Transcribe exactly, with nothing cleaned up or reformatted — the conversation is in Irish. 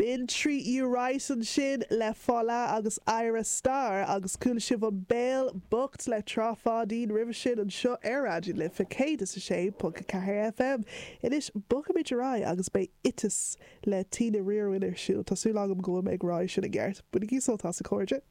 B'in Treat You Right ansin le Fala agus Ayra Starr agus chuala sibh an Béal Bocht le Trá Pháidín roimhe sin anseo ar Raidió na Life céad is a sé ponc ceathair FM. Anois bogfaimid ar aghaidh agus beidh Oiteas le Tina Riorwin ar siúl Tású agam go ag rá sin i gceart. Bainigí sult as a chairde.